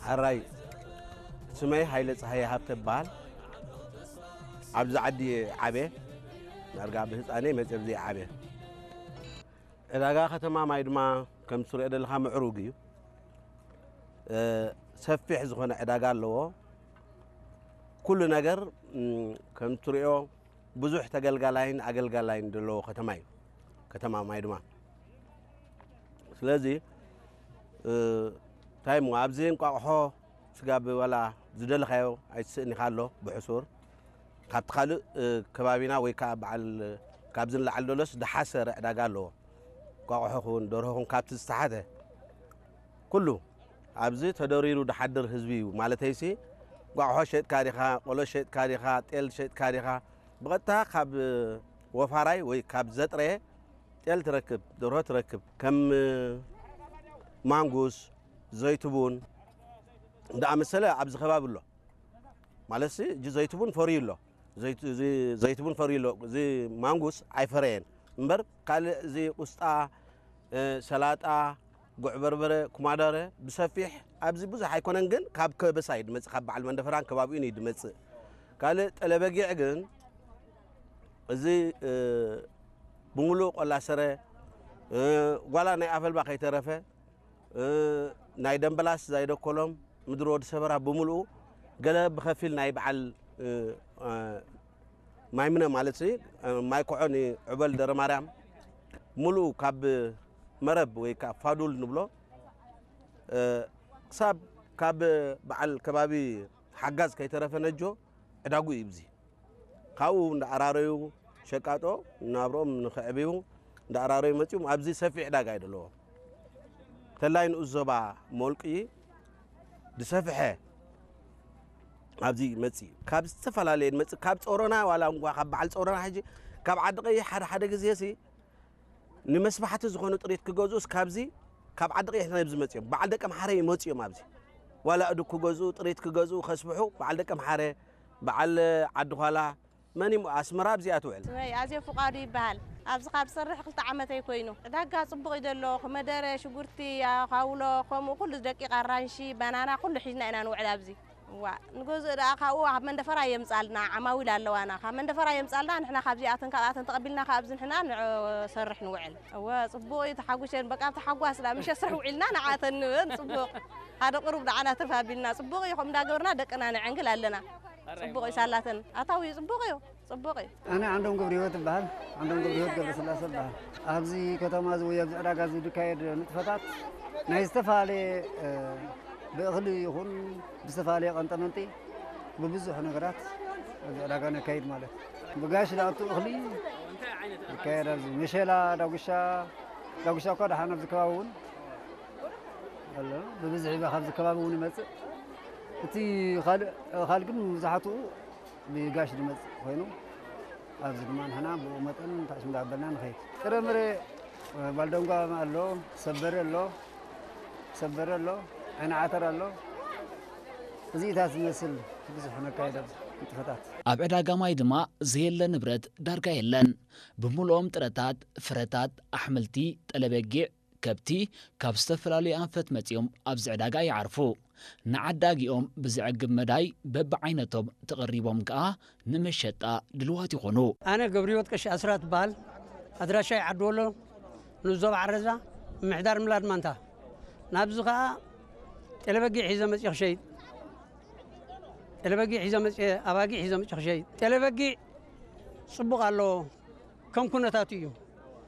ሓራይ ስመይ ሃይለ ፀሃየ ሃብተ ይበሃል። ኣብዚ ዓዲ ዓብየ። ዳርጋ ብህፃነይ መፅየ ኣብዚ ዓብየ። ዕዳጋ ከተማ ማይ ድማ ከም ትሪኦ ዘለኻ ምዕሩግ እዩ። ሰፊሕ ዝኾነ ዕዳጋ ኣለዎ። ኩሉ ነገር ከም ትሪኦ ብዙሕ ተገልጋላይን ኣገልጋላይን ዘለዎ ከተማ እዩ። ከተማ ማይ ድማ ስለዚ እንታይ ሞ ኣብዚ እንቋቑሖ ስጋ ብበላ ዝደለኻዮ ኣይትስእን ኢኻ ኣሎ ብሕሱር። ካብቲ ካልእ ከባቢና ወይ ከዓ በዓል ካብዚ ንላዕሊ ደሎስ ዝሓሰረ ዕዳጋ ኣለዎ። እንቋቑሖ ኹን ደርሆ ኹን ካብቲ ዝተሓተ ኩሉ ኣብዚ ተደሪሩ ዝሓድር ህዝቢ እዩ። ማለተይሲ እንቋቑሖ ሸጥካ ዲኻ፣ ቆሎ ሸጥካ ዲኻ፣ ጤል ሸጥካ ዲኻ፣ ብቐጥታ ካብ ወፋራይ ወይ ካብ ዘጥረየ ጤል ትረክብ፣ ደርሆ ትረክብ። ከም ማንጉስ፣ ዘይትቡን እንዳኣመሰለ ኣብዚ ከባቢ ኣሎ። ማለትሲ እጂ ዘይትቡን ፈርዩ ኣሎ። ዘይት- እዚ ዘይትቡን ፈርዩ ኣሎ። እዚ ማንጉስ ኣይፈረየን እምበር ካልእ እዚ ቁስጣ፣ ሰላጣ፣ ጉዕ በርበረ፣ ኩማዳረ ብሰፊሕ ኣብዚ ብዙሕ ኣይኮነን፣ ግን ካብ ከበሳ እዩ ድመፅእ፣ ካብ በዓል መንደፈራን ከባቢኡን እዩ ድመፅእ። ካልእ ጠለበጊዕ ግን እዚ ብምሉእ ቆላ ሰረ፣ ጓላ ናይ ኣፈልባ ከይተረፈ፣ ናይ ደንበላስ ዛይደኮሎም፣ ምድሪ ወዲ ሰበራ ብምሉኡ፣ ገለ ብኸፊል ናይ በዓል ማይምነ ማለት ማይ ኮዖ ንዕበል ደረ ማርያም ሙሉኡ ካብ መረብ ወይ ከዓ ፋዱል ንብሎ ክሳብ ካብ በዓል ከባቢ ሓጋዝ ከይተረፈ ነጆ ዕዳጉ እዩ። ብዚ ካብኡ እንዳኣራረዩ ሸቃጦ ናብሮም ንክዕብዩ እንዳኣራረዩ መፅዮም። ኣብዚ ሰፊሕ ዕዳጋ እዩ ዘለዎ። ተላይ ንኡስ ዞባ ሞልቂ ዝሰፍሐ ኣብዚ መፂ ካብ ዝተፈላለየ መፂ ካብ ፆሮና ዋላ እንኳ ካብ በዓል ፆሮና ሕጂ ካብ ዓዲ ቀይሕ ሓደ ሓደ ግዜ ሲ ንመስባሕቲ ዝኾኑ ጥሪት ክገዝኡስ ካብዚ ካብ ዓዲ ቀይሕ ናብ ዝመፅኦም በዓል ደቀ ምሓረ ይመፅኦም። ኣብዚ ዋላ እዱ ክገዝኡ ጥሪት ክገዝኡ ከስብሑ በዓል ደቀ ምሓረ በዓል ዓዲ ኳላ መን ይሞ ኣስመራ ኣብዚኣ ትውዕል። ስመይ ኣዜ ፍቃዱ ይበሃል። ኣብዚ ካብ ዝሰርሕ ክልተ ዓመተይ ኮይኑ። ዕዳጋ ጽቡቕ እዩ ዘሎ። ኮመደረ፣ ሽጉርቲ፣ ኣኻውሎ፣ ከምኡ ኩሉ ደቂቕ ኣራንሺ፣ ባናና ኩሉ ሒዝና ኢና ንውዕል ኣብዚ። እዋ ንገዝእ ደኣ ካብኡ ካብ መንደፈራ የምጻልና ዓማዊል ኣለዋና። ካብ መንደፈራ የምጻልና ንሕና ካብዚኣተን ካብኣተን ተቐቢልና ካብዚ ንሕና ንሰርሕ ንውዕል። እወ ጽቡቕ እዩ ተሓጉሸን በቃ ተሓጓስ ደኣ ምሸ ስራሕ ውዒልና ንዓተን ንበን ጽቡቕ። ሓደ ቅሩብ ደዓና ትርፍ ኣቢልና ጽቡቕ እዩ ከምኡ እንዳገበርና ደቅና ነዐንግል ኣለና። ጽቡቕ እዩ ሳላተን ኣታዊ እዩ ጽቡቕ እዩ። ጽቡቕ እዩ። ኣነ ዓንዶም ገብረህይወት እበሃል። ዓንዶም ገብረህይወት ገብረስላሴ እበሃል። ኣብዚ ከተማ እዚ ወይ ኣብዚ ዕዳጋ እዚ ዝካየድ ንጥፈታት ናይ ዝተፈላለየ ብእኽሊ ይኹን ብዝተፈላለየ ቀንጠመንጢ ብብዙሕ ነገራት ኣብዚ ዕዳጋ ነካይድ ማለት እዩ። ብጋሽ ዝኣቱ እኽሊ ይካየድ። ኣብዚ መሸላ፣ ዳጉሻ፣ ዳጉሻ እኳ ደሓን ኣብዚ ከባቢ እውን ኣሎ። ብብዝሒ ካብዚ ከባቢ እውን ይመፅእ። እቲ ካልእ ካልእ ግን መብዛሕትኡ ብጋሽ ዝመፅእ ኮይኑ ኣብዚ ድማ ንሕና ብኡ መጠን ታሽም ዳበልና ንኸይድ። ጥረምረ ባልደንጓ ኣሎ፣ ሰበረ ኣሎ፣ ሰበረ ኣሎ፣ ዓይኒ ዓተር ኣሎ። እዚኢታት ዝመስል ብዙሕ ነካይድ ኣብዚ ንጥፈታት። ኣብ ዕዳጋ ማይ ድማ ዘየለ ንብረት ዳርጋ የለን። ብምልኦም ጥረታት፣ ፍረታት፣ ኣሕምልቲ፣ ጠለበጊዕ፣ ከብቲ ካብ ዝተፈላለዩ ኣንፈት መጺኦም ኣብዚ ዕዳጋ ይዓርፉ። ንዓዳጊኦም ብዘዕግብ መዳይ በብዓይነቶም ተቐሪቦም ከኣ ንመሸጣ ድልዋት ይኾኑ። ኣነ ገብረህይወት ቀሺ ኣስራት እበሃል። ኣድራሻይ ዓዲ ወሎ ንዞባ ዓረዛ ምምሕዳር ምላድ ማንታ። ናብዚ ከኣ ጤለበጊዕ ሒዘ መጺ ክሸይጥ ጤለበጊዕ ሒዘ መጺ ኣባጊዕ ሒዘ መጺ ክሸይጥ ጤለበጊዕ ጽቡቕ ኣሎ ከም ኩነታቱ እዩ።